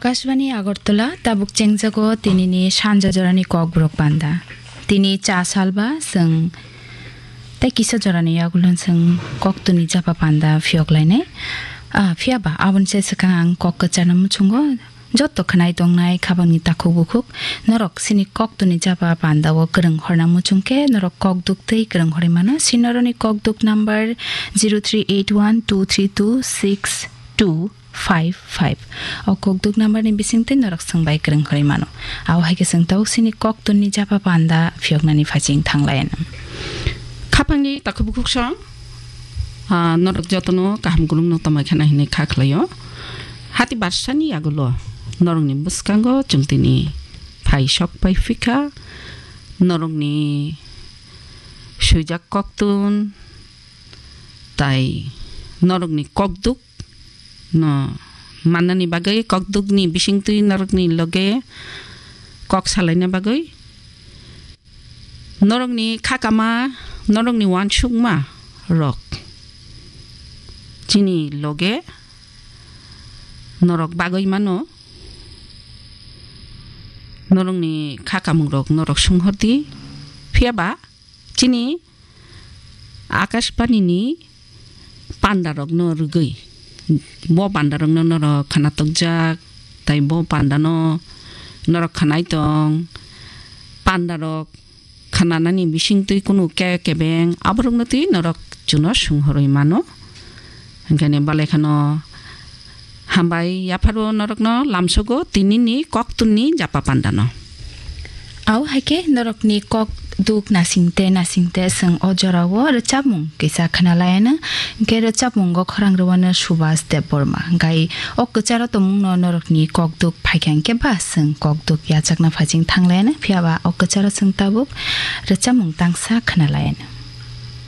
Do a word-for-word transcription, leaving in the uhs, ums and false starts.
Akashbani Agartala, tabuk chengjago tinini sanja jorani kokborok panda. Tini cha salba chwng tei kisa jorani yagulo chwng koktwni japa panda phiyok lainai. Ah, phiyaba aboni se swkang ang kok kwcharno muchungo joto khwnai tongnai khabangni takhuk bukhuk norok chini koktwni japa pandao kwrwng horna muchungkhe norok kokduk tei kwrwng horwi mano. Sinoroni kokduk number zero three eight one two three two six two five five. O kokduk number ni bisingtwi norok swngbai kwrwng khorwi mano. Abo hai khe chwng tabuk chini koktwni japa panda phiyoknani phaising thanglayan. Khapangni takhuk bukhuk song, ah, norok jotono kaham kulumno tongmai khana hinwi kha khlaio. Hati barsani yagulo norokni bwskango chwng tini phai sok pai phikha, norokni swijak koktun tai norokni kokduk no mannani bagwi, kokdukni bisingtwi norokni loge kok salaina bagwi, norokni khakama, norokni uansukma rok chini loge norok bagwi mano, norokni khakamung rok norok sunghordi, phiyaba chini Akashbani ni panda rok no rwgwi, bo panda rok no norok khana tokjak, tai bo panda no norok khwnai tong, panda rok khwnanani bisingtwi kunu ke kebeng aborok no twi norok chuno sunghorwi mano. Hingkhe ni balai khano hambai yapharo norokno lamsogo tinini koktwni japa pandano. Au hai khe norokni kok duk nasingte nasingte chwng o jorao rwchapmung kisa khna layana. Hingkhe rwchapmungo khorang rwano Subhas Debbarma. Hingkhai o kwcharo tongmungno norokni kok duk phaikha hingkhe ba chwng kok duk yachakna phaising thanglayana. Phiyaba o kwcharo chwng tabuk rwchapmung tangsa khna layana.